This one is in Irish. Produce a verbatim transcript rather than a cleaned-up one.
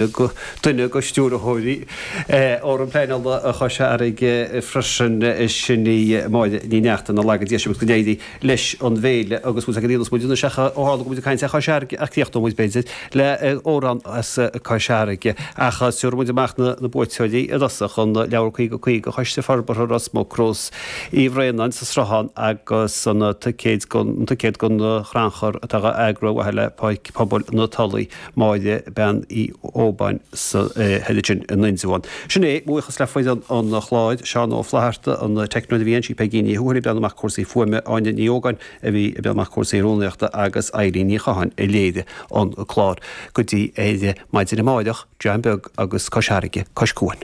Duine de stiúrthóirí Fhóram Pleanála Chois Fharraige freisin, sin í Máire Ní Neachtain, a laga deis agus go n-éirí leis an bhféile agus bhfuil ag déanamh muid anois ach ó tharla go bhfuil muid ag caint ar Chois Fharraige ach críochnóidh muid b'fhéidir le amhrán as Cois Fharraige ach tabharfaidh muid amach na buaiteoirí i dtosach an leabhar caoga caoga Choiste Forbartha Ros Muc, Rós Uí Bhraonáin sa Sruthán agus an ticéad don chrannchur atá á eagrú ar mhaithe le Páirc Pobail na Tulaí. Máire Bean Uí Óbáin sa thoir in Indreabhán. Sin é, buíochas le foireann an chláir, Seán Ó Flatharta, an teicneoir a bhí ansin, Peigí Ní Thuathail ag breathnú amach cúrsaí fuaime, Áine Ní Ógáin a bhí ag breathnú amach cúrsaí rúnaíochta agus Eileen Ní Chatháin a léirigh an clár. Go dtí ar maidin amáireach, dream beag agus Cois Fharraige, cois cuain.